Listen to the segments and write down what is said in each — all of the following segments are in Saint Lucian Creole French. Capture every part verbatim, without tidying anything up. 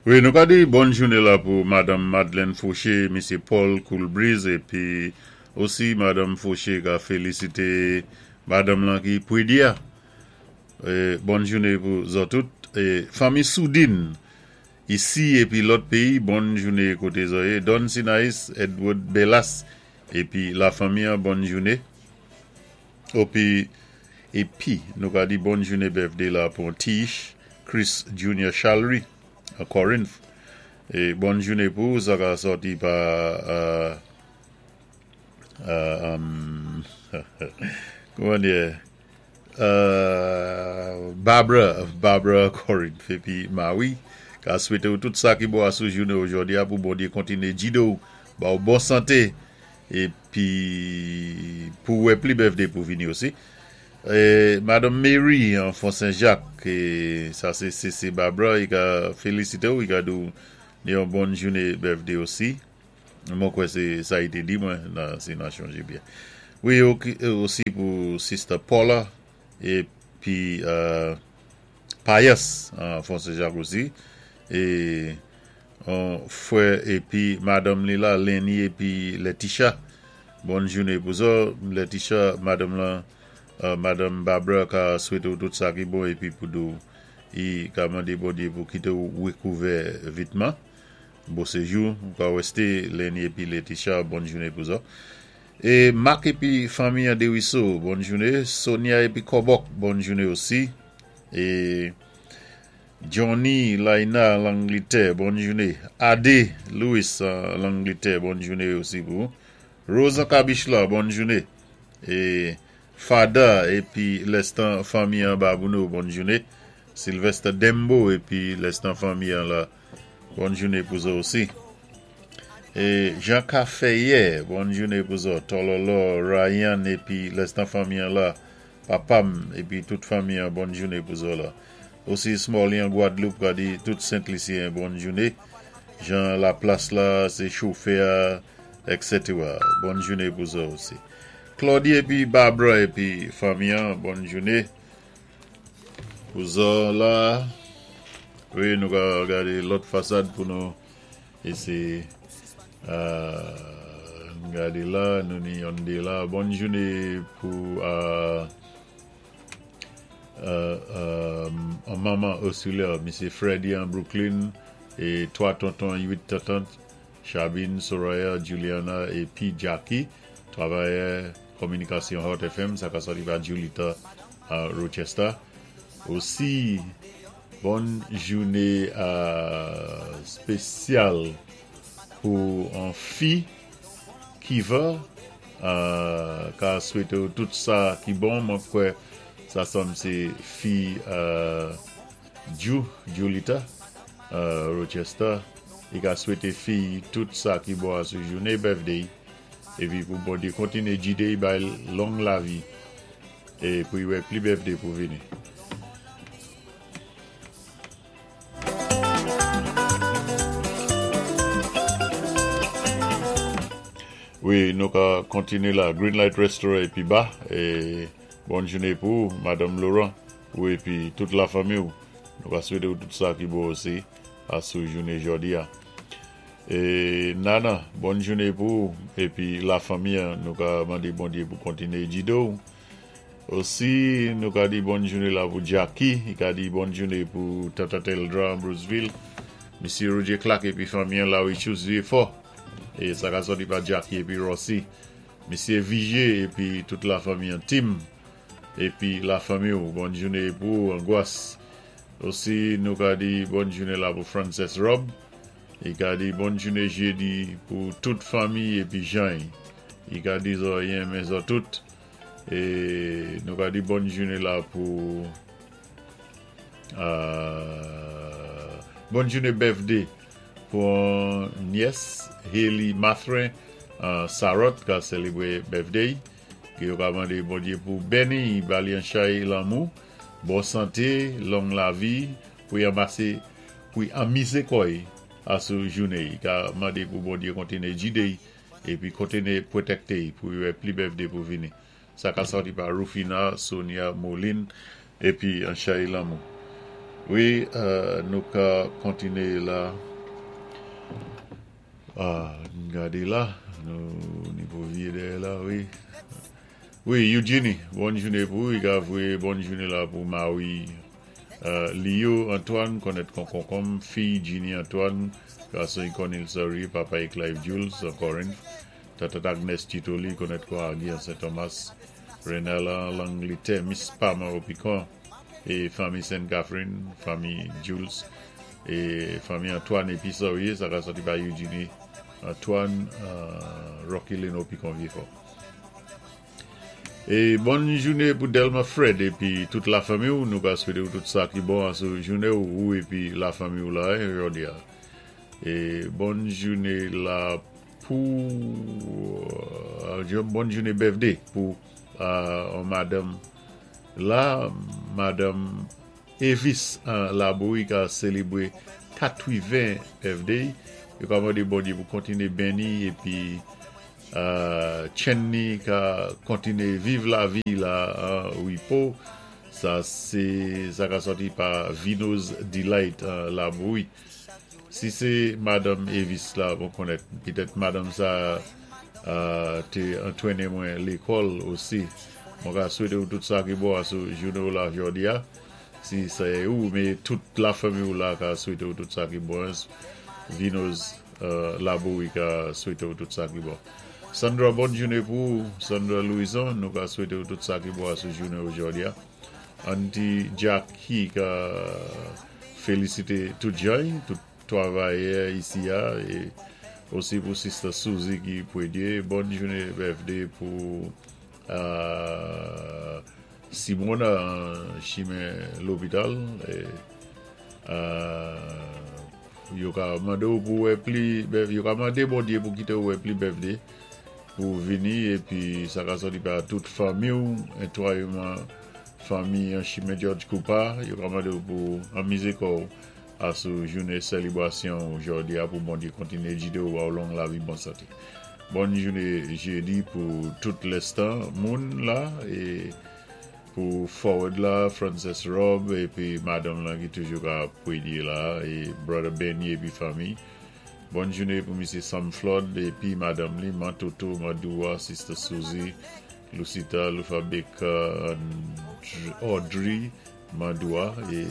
Wi, nou ka di bòn jouné la pou Madanm Madeleine Fauché, Misyé Paul Coolbreeze épi osi Madanm Fauché ka félisité madanm lan ki pwédi a. É, bòn jouné pou zòt tout. É, fanmi Soudine, isi épi lòt péyi, bòn jouné koté zò yé. Don Sinaïs, Edward Bellas, épi la fanmi an, bòn jouné. Épi, épi, nou ka di bòn jouné birthday la pou Tish, Chris Junior Chalry, à Corinth. É bòn jouné pou sa ka sòti pa euh, euh, um, kouman di euh, Barbara, Barbara Corinth épi Maui ka swété ou tout sa ki bon asou jouné jòdi a pou Bondyé kontiné jidé ou ba ou bon santé épi pou wè pli birthday pou vini osi. É, Madanm Mary an Fond Saint-Jacques, é, sa sé C C Barbara, i ka félisité ou, i ka di ou yon bòn jouné birthday osi. Mwen kwè sé sa i té di mwen, nan, si nan chonjé byen. Wi, osi pou Sister Paula épi euh, Payas an Fond Saint-Jacques osi. É an frè épi Madanm li la, Lenny épi Letitia. Bòn jouné pou zòt. Letitia, Madanm la, euh, Madanm Barbara ka swété ou tout sa ki bon épi pou di ou i ka mandé Bondyé pou kité ou wékouvè vitman. Bon séjou, ka wésté Lenny épi Letitia, bòn jouné pou zòt. É Marc épi fanmi an Desruisseaux, bòn jouné. Sonia épi Kobok, bòn jouné osi. É Johnny Laina Langletè, bòn jouné. Ade Louis euh, Langletè, bòn jouné osi pou. Rosa Kabichla, bòn jouné. É Fada épi lèstan fanmi an Babouno, bòn jouné. Sylvester Dembo épi lèstan fanmi an la, bòn jouné pou zòt osi. É Jean Caféier, bòn jouné pou zòt. Tololo, Ryan épi lèstan fanmi an la, Papam épi tout fanmi an, bòn jouné pou zòt la. Osi Smalley an Guadeloupe, ka di tout Saint-Lucien, bòn jouné. Jean Laplace la, sé chofè, et cetera. Bòn jouné pou zòt osi. Claudie épi Barbara épi fanmi an, bòn jouné. Pou zòt la, wi, nou ka gadé lòt fasad pou nou éséyé euh, gadé la, nou ni yon dé la. Bòn jouné pou euh, euh, euh, manman Ursula, Misyé Freddy an Brooklyn, é twa tonton, uit tantant, Chabine, Soraya, Juliana épi Jackie, travayè kominikasyon Hot F M, sa ka sòti pa Julita à Rochester. Osi, bòn jouné euh, spésyal pou an fi ki va euh, ka swété ou tout sa ki bon, mwen kwè sa sanm sé fi euh, Ju, Julita, euh, Rochester, i ka swété fi tout sa ki bon asou jouné birthday, épi pou Bondyé kontiné jidé i bay long lavi, é pou i wè pli birthday pou vini. Wi, nou ka kontiné la Greenlight Restaurant épi ba, é bòn jouné pou Madanm Laurent, ou épi tout la fanmi ou. Nou ka swété ou tout sa ki bon osi asou jouné jòdi a. É Nana, bòn jouné pou épi la fanmi, nou ka mandé Bondyé pou kontiné jidé ou. Osi, nou ka di bòn jouné la pou Jackie, i ka di bòn jouné pou Tata Teldra Bruceville, Misyé Roger Clark épi fanmi an la Richus Vieux-Fort. É sa ka sòti pa Jackie épi Rossi. Misyé Vigier épi tout la fanmi an Tim épi la fanmi ou, bòn jouné pou Angoisse. Osi, nou ka di bòn jouné la pou Frances Rob. I ka di bòn jouné jédi pou tout fanmi épi Jean. I ka di zòt yenmen zòt tout. É nou ka di bòn jouné la pou euh, bòn jouné birthday pou nièce Haley Mathrin euh, Sarot ka sélébwé birthday. Ki yo ka mandé Bondyé pou béni ba li an chay lanmou, bon santé, long lavi, pou y anmasé, pou y anmizé kò i asou jouné. I ka mandé pou Bondyé kontiné jidé épi kontiné pwotékté pou y wè pli birthday pou vini. Sa ka sòti pa Rufina, Sonia, Moline, épi an chay lanmou. Wi, euh, nou ka kontiné la. Ah, gadé la, nou ni pou viyé dèyè la, wi. Wi, Eugenie, bòn jouné pou ou, i ka voyé bòn jouné la pou Marie. Euh, Leo Antoine, konnèt kon konkonm, fi Ginny Antoine, gason Cornel Sorry, papa i Clive Jules, an Corinth. Tata Agnes Titoli, konnèt kon Agui an Saint-Thomas. Renella L'Angleterre, Miss Pama au Piquant, é fanmi Sainte Catherine, fanmi Jules, é fanmi Antoine épi Sorry, sa ka sòti pa Eugenie Antoine, euh, Rocky Lane au Piquant Vieux-Fort. É bòn jouné pou Delma Fred épi tout la fanmi ou, nou ka swété ou tout sa ki bon an sou jouné ou, ou épi la fanmi ou la, hein, jòdi a. É bòn jouné la pou euh, bòn jouné birthday pou euh, madanm la, madanm Evis euh, Laboui ka sélébwé katwiven birthday. Yo ka mandé Bondyé pou kontiné béni épi euh, Chenny ka kontiné viv lavi la an wipo. Sa sé sa ka sòti pa Vino's Delight euh, Laboui. Si sé madanm Evis la, bon konnèt, pitèt madanm sa euh, té antwéné mwen lékòl osi. Mwen ka swété ou tout sa ki bon a sou jouné ou la jòdi a. Si sé ou, mé tout la fanmi ou la ka swété ou tout sa ki bon. Vino's euh, Laboui ka swété ou tout sa ki bon. Sandra, bòn jouné pou ou. Sandra Louison, nou ka swété ou tout sa ki bon a sou jouné ou jòdi a. Auntie Jackie ka félisité tout jay, tout twavayè isi a, é osi pou Sister Suzy ki pwédyé. Bòn jouné birthday pou euh, Simona an chimen lopital. É, euh, yo ka mandé ou pou wè pli, yo ka mandé Bondyé pou kité ou wè pli birthday pou vini épi sa ka sòti pa tout fanmi ou, entwayman fanmi an chimen George Cooper, yo ka mandé ou pou anmizé kò ou a sou jouné sélébwasyon jòdi a pou Bondyé kontiné jidé ou ba ou long lavi bon santé. Bòn jouné jédi pou tout lèstan moun la é pou forward la, Frances Rob épi madanm la ki toujou ka pwédyé la é brother Benny épi fanmi. Bòn jouné pou Misye Sam Flood épi madanm li, Mantoto, Madoua, Sister Suzy, Lucita, Lufa Baker, Audrey, Madoua é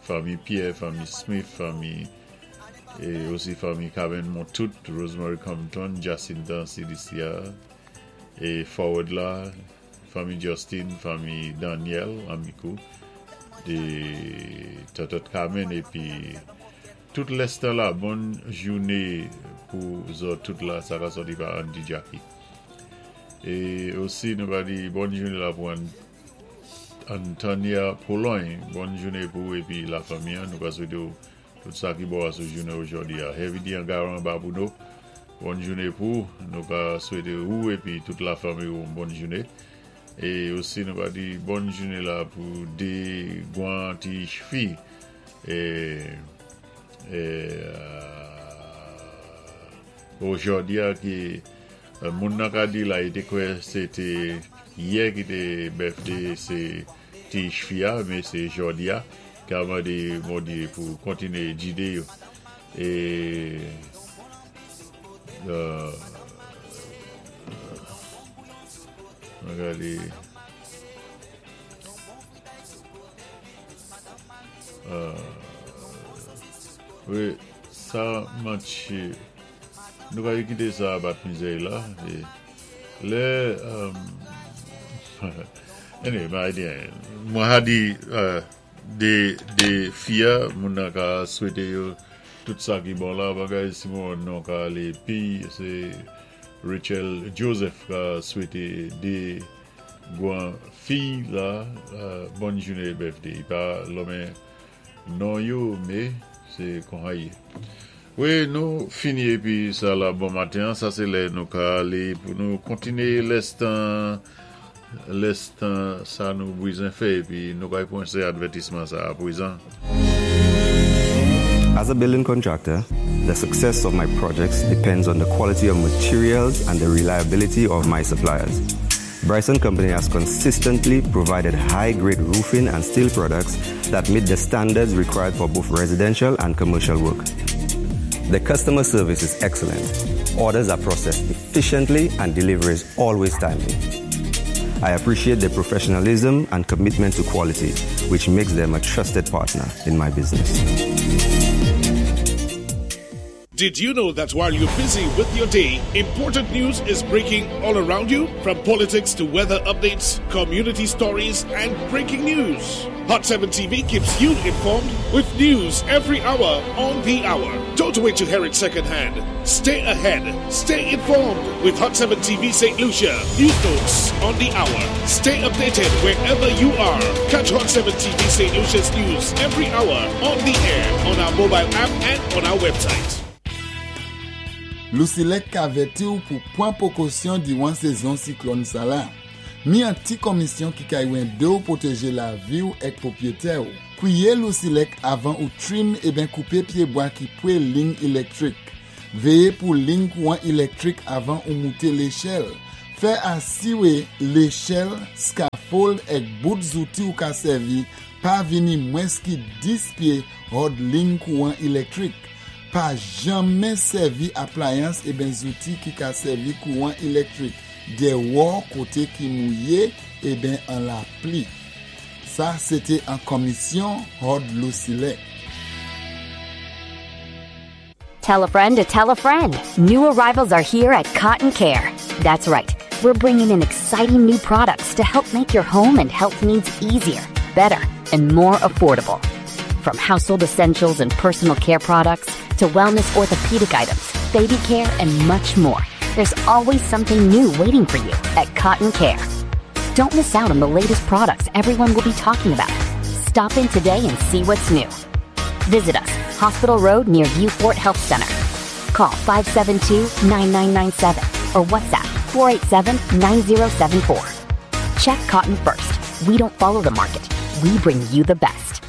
fanmi Pierre, fanmi Smith, fanmi é osi fanmi Carmen Montout, Rosemary Compton, Jacinta C D C R é forward la, fanmi Justin, fanmi Daniel, Amikou, é Tatot Carmen épi tout lèstan la, bòn jouné pou zòt tout la, sa ka sòti pa Andy Jackie. É osi nou va di bòn jouné la pou Antonia Pologne, bòn jouné pou épi la fanmi, nou ka swété ou tout sa ki bon a sou jouné jòdi a. Heavy D Angaran Babouno, bòn jouné pou, nou ka swété ou épi tout la fanmi ou bòn jouné. É osi nou va di bòn jouné la pou dé gwan ti fi é, é euh, jòdi a ki euh, moun nan ka di la, i té kwè sé té yè ki té birthday sé ti fi a, mé sé jòdi a ka mandé Bondyé pou kontiné jidé yo. É euh, gadé euh, wi, sa matché. Nou ka kité sa bat mizè la é lè um, anyway, ma di mwen ha di euh, dé dé fi a, moun nan ka swété yo tout sa ki bon la bagay Simon nou ka alé pi sé Rachel Joseph ka swété dé gwan fi la euh, bòn jouné birthday. I pa lonmen non yo, mé sé kon sa yé. Wi, nou fini épi sa la bon maten, sa sé lè nou ka alé pou nou kontiné lèstan lèstan sa nou bizwen fè épi nou ka pwan advètisman sa apwézan. As a building contractor, the success of my projects depends on the quality of materials and the reliability of my suppliers. Bryson Company has consistently provided high-grade roofing and steel products that meet the standards required for both residential and commercial work. The customer service is excellent. Orders are processed efficiently and delivery is always timely. I appreciate their professionalism and commitment to quality, which makes them a trusted partner in my business. Did you know that while you're busy with your day, important news is breaking all around you? From politics to weather updates, community stories, and breaking news. Hot seven T V keeps you informed with news every hour on the hour. Don't wait to hear it secondhand. Stay ahead. Stay informed with Hot seven T V Saint Lucia. News notes on the hour. Stay updated wherever you are. Catch Hot seven T V Saint Lucia's news every hour on the air, on our mobile app, and on our website. Lusilek ka avèti ou pou pwan pwékosyon diwan sézon siklòn sala. Mi an ti komisyon ki ka édé ou pwotégé lavi ou èk pwopwiyété ou. Kwiyé Lusilek avan ou trim eben koupé pyébwa ki pwé lign ilektrik. Véyé pou lign kouwan ilektrik avan ou mouté léchèl. Fè asiwé léchèl, scaffold èk bout zouti ou ka sèvi pa vini mwens ki dis pyé hòd lign kouwan ilektrik. Pa janmen sèvi aplayans eben zouti ki ka sèvi kouwan ilektrik déwò koté ki mouyé eben an lapli. Sa, sété an komisyon Hòd Lusilek. Tell a friend to tell a friend. New arrivals are here at Cotton Care. That's right. We're bringing in exciting new products to help make your home and health needs easier, better, and more affordable. From household essentials and personal care products to wellness orthopedic items, baby care, and much more. There's always something new waiting for you at Cotton Care. Don't miss out on the latest products everyone will be talking about. Stop in today and see what's new. Visit us, Hospital Road near Vieux Fort Health Center. Call five seven two, nine nine nine seven or WhatsApp four eight seven, nine zero seven four. Check Cotton first. We don't follow the market. We bring you the best.